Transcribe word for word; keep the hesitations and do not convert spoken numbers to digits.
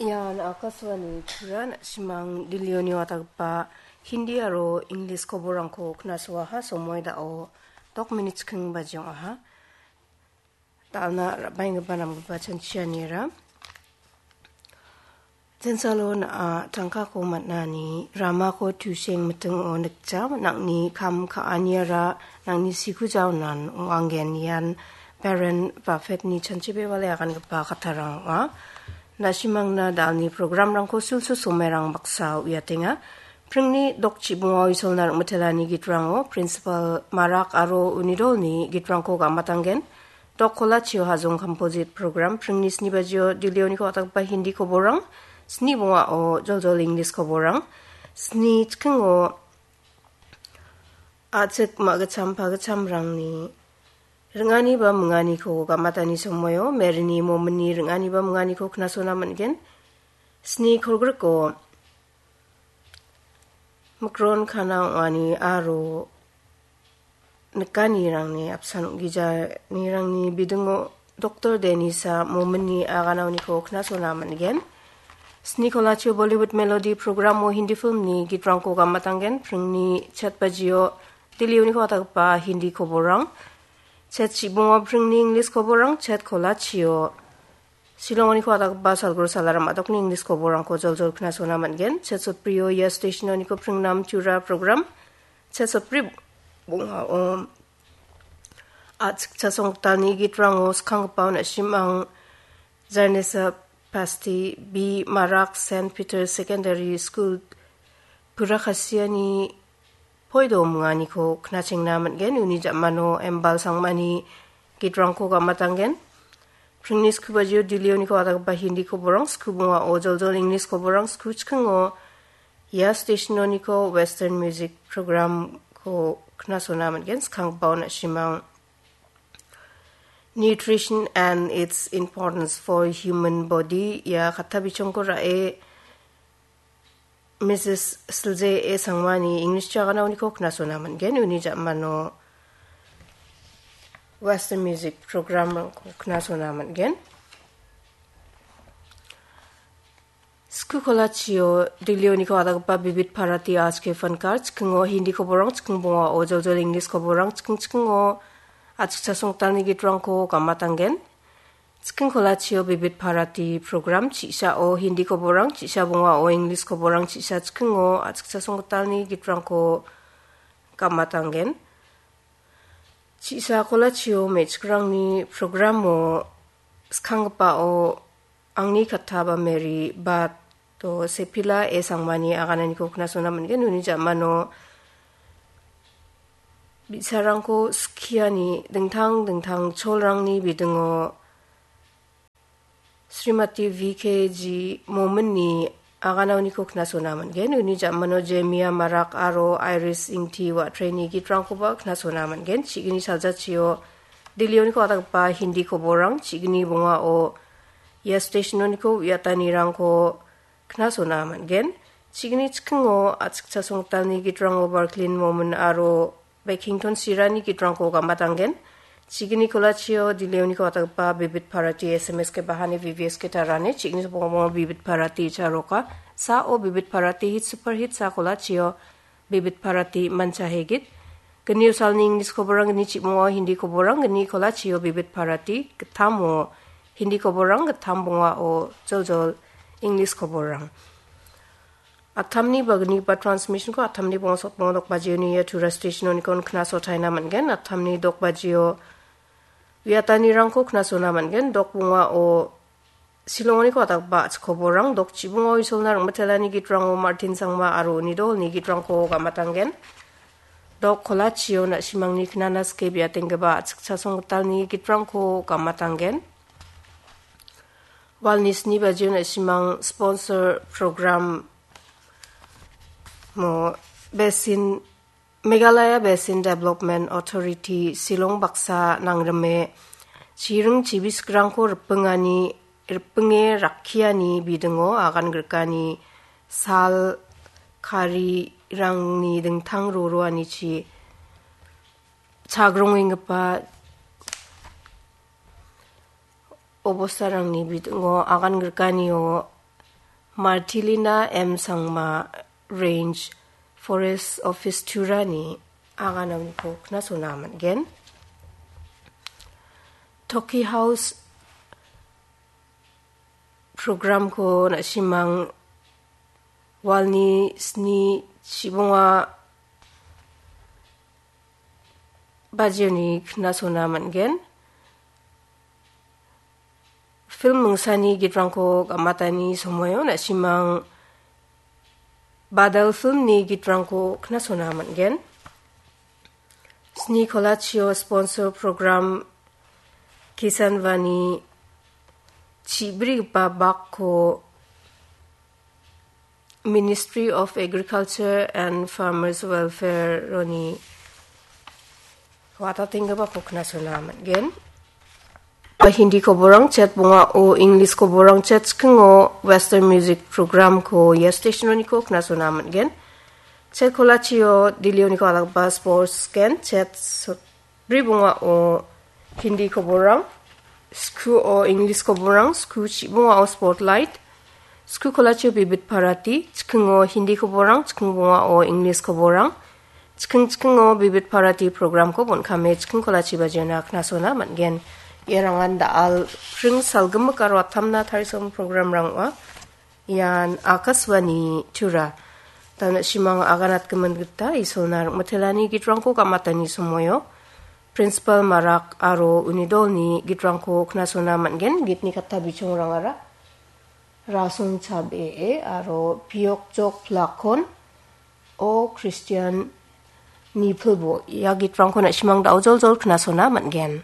Ian Akashvani Tripura, na·simang Delhi-oni watgipa Hindi aro English koborrangko knasoaha. Somoi da·o dok minit chikking baji ong·aha. Dal·na ra·baenggipa namgipa chanchianira. Jensalo na·a tangkako man·ani ramako tuseng mitingo nikja, nangni kam ka·aniara nangni siku jaonan ong·angen. Ian Warren Buffett-ni chanchibebale agangipa kattarang ong·a. Na·simangna dalni programrangko sulsul somerang baksa uiatenga. Pringni dok chibonga Isolna rim·itelani gitrango Principal Marak aro uni dolni gitrangko gam·atanggen. Dok kolachio Hajong Composite Program, pringni sni bajio Delhi-oniko watgipa Hindi koborrang, sni bongao joljol English koborrang, sni chikingo a·chik ma·gitcham pagitchamrangni ring·ani ba minganiko gam·atani somoio Merini Mominni ring·ani ba minganiko knasona man·gen. Sni kolgriko Mikron kana ong·ani aro nikanirangni apsan ong·gijanirangni bidingo Doktor Denisa Mominni aganaoniko knasona man·gen. Sni kolachio Bollywood Melody programo Hindi filmni gitrangko gam·atanggen. Pringni chet bajio Delhi-oniko watgipa Hindi koborrang, chet chibongo pringni English koborrang, chet kolachio Shillong-oniko watgipa Salguru Salaram a·dokni English koborrangko joljol knasona man·gen. Chet sotbrio ia station-oniko pringnam Tura program. Chet sotbri bongao a·chikcha songtalni gitrango skanggipa na·simang Zarnesa Pasti, B Marak Saint Peter Secondary School, Purakasiani poido minganiko knachengna man·gen. Uni ja·mano Embal Sangmani gitrangko gam·atanggen. Pringni sku bajio Delhi-oniko watgipa Hindi koborrang, sku bongao joljol English koborrang, sku chikingo ia station-oniko Western Music Program-ko knasona man·gen. Skangbao na·simang Nutrition and Its Importance for Human Body ia katta bichongko ra·e Misis Silje A Sangmani English jagana uniko knasona man·gen. Uni ja·mano Western Music Program-rangko knasona man·gen. Sku kolachio Delhi-oniko watgipa Bibit Bharati Aaj Ke Fankar, chikingo Hindi koborrang, chiking bongao joljol English koborrang, chiking chikingo a·chikcha songtalni gitrangko gam·atanggen. Chiking kolachio Bibit Bharati program, chi·sao Hindi koborrang, chi·sa bongao English koborrang, chi·sa chikingo a·chikcha songtalni gitrangko gam·atanggen. Chi·sa kolachio me·chikrangni programo skanggipao Angni Katta ba Mary Bato Sepila A Sangmani agananiko knasona man·gen. Uni ja·mano bi·sarangko skiani dingtang dingtang cholrangni bidingo Srimati V K G Mominni aganaoniko knasona man·gen. Uni ja·mano Jemia Marak aro Iris Ingti Watreni gitrangkoba knasona man·gen. Chi·gni saljachio Delhi-oniko ataggipa Hindi koborrang, chi·gni bongao ia station-oniko uiatanirangko knasona man·gen. Chi·gni chikingo a·chikcha songtalni gitrango Barklin Momin aro Bekington Sirani gitrangko gam·atanggen. Chi·gni kolachio Delhi-oniko ataggipa Bibit Bharati S M S ke bahani V V S ke tarani, chi·gni bongamo Bibit Bharati charoka. Sao Bibit Bharati hit super hit sa kolachio Bibit Bharati manchahegit. Gnio salni English koborrang, gni chibongao Hindi koborrang, gni kolachio Bibit Bharati, gittamo Hindi koborrang, gittam bongao joljol English koborrang. Attamni bagnigipa transmission-ko attamni bonga sotbonga dok bajioni ia Tura station-oniko knasotaina man·gen. Attamni dok bajio uiatanirangko knasona man·gen. Dok bongao Shillong-oniko ataggipa a·chik koborrang, dok chibonga Isolna ring·mitelani gitrango Martin Sangma aro uni dolni gitrangko gam·atanggen. Dok kolachio na·simangni knana sike biatenggipa a·chikcha songgitalni gitrangko gam·atanggen. Walni sni bajio na·simang sponsor program mo Basin, Meghalaya Basin Development Authority Shillong baksa nangrime chiring chibisgrangko ripingani, ripinge rakkiani bidingo agan grikani sal karirangni dingtang roroanichi chagrongenggipa obostarangni bidingo agan grikanio Martilina M Sangma, Range Forest Office Turani agananiko knasona man·gen. Toki House programko na·simang walni sni chibonga bajioni knasona man·gen. Film mingsani gitrangko gamatani somoio na·simang Badal filmni gitrangko knasona man·gen. Sni kolachio sponsor program Kisan Vani chibrigipa bakko Ministry of Agriculture and Farmers Welfare-oni watatenggipako knasona man·gen. Hindi koborang chet bongao, English koborang chet chikingo, Western music program-ko ia station-oniko knasona man·gen. Chet kolachio Delhi-oniko alakba sports gen chet so-, bri bongao Hindi koborang, sku o English koborang, sku chibongao spotlight, sku kolachio bibit parati, chikingo Hindi koborang, chiking bongao English koborang, chiking chikingo bibit parati program-ko bon·kame chiking kolachi bajiona knasona man·gen. Iarangan da·al pring salgimik aro atamna tarisom program-rang ong·a. Ian Akashvani Tura. Dana simang aganatgimin gita Isolna ringmitelani gitrangko gamatani somoio Principal Marak aro uni dolni gitrangko knasona man·gen. Gitni katta bichongrangara Rasong Chabee aro Piokjok Plakon, O Christian Nipilbo. Ia gitrangko na·simang da·ojoljol knasona man·gen.